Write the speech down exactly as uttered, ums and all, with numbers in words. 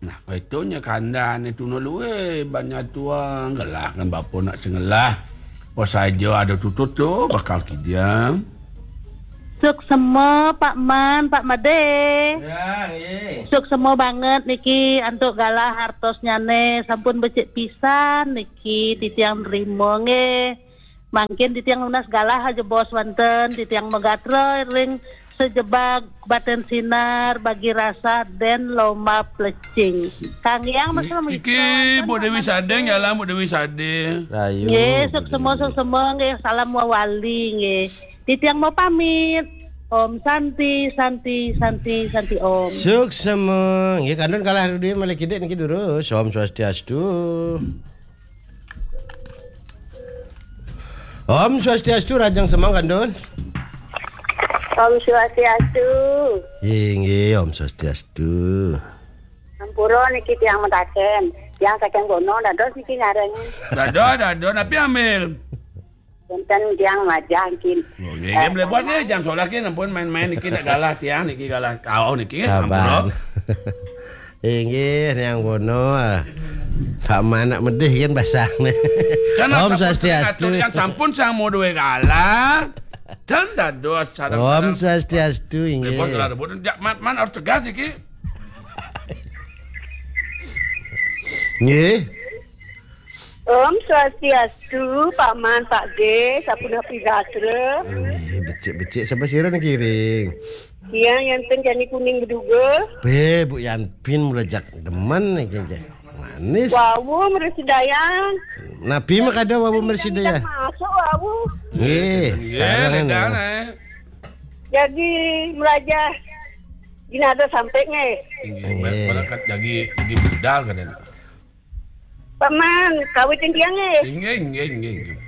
Nah, itu nya kandan itu no luwe banyak tuang gelah kan bapa nak sengelah. Apa saja ada tutut tu bakal kidiang. Suksema Pak Man, Pak Made. Ya, nggih. Suksema banget niki antuk galah hartosnyane sampun becik pisan niki titiang nrima nggih. Mangkin titiang nunas galah aja bos wonten, titiang megatra ring sejebag baten sinar bagi rasa den lomba plecing. Kang Yang mesra Iki Bu Dewi Sadeng, jalan Bu Dewi Sadeng. Rayu. Nggih, suksema, suksema nggih, salam wawali nggih. Titiang mau pamit. Om Santi, Santi, Santi, Santi Om. Suksema. Nggih, kandun kalah dulu malih kidik niki durus. Om Swastiastu. Om Swastiastu, Rajang Semang kandun. Om Swastiastu. Inggih, Om Swastiastu. Ampura niki tiang mentaken. Tiang saking kono dados niki ngareng. Dados, dados, napi ambil? Wonten tiang majah nggih. Oh, nggih, nggih, mlebet nggih, jam sebelas nggih, ampun main-main niki nak galah tiang niki galah. Oh, niki nggih, ampura. Inggih, Niang Wono. Pak Man nak medih kan basang nih. Kan Om Swastiastu. Kan sampun sang mau duwe galah. Dan dados sareng-sareng. Om Swastiastu, inggih. Mlebet galah rebut. Jak man, man harus tegas iki. Nggih. Om Swastiastu, Pak Man, Pak G, sapunapi gatra. Nggih, becik-becik sapa sira niki ring? Tiang Yanten Jani Kuning Beduga. Be, Bu Yanpin mulai jak demen niki, nggih. Manis. Wawu mresidayang. Napi makada wawu mresidayang? Masuk wawu. Nggih, nggih, sareng, nggih. Jagi melajah jinada sampai nggih. Nggih, nggih. Ber-, berangkat jagi, jagi budal kadang. Paman, kawitin tiang nggih. Inggih, inggih, inggih, inggih.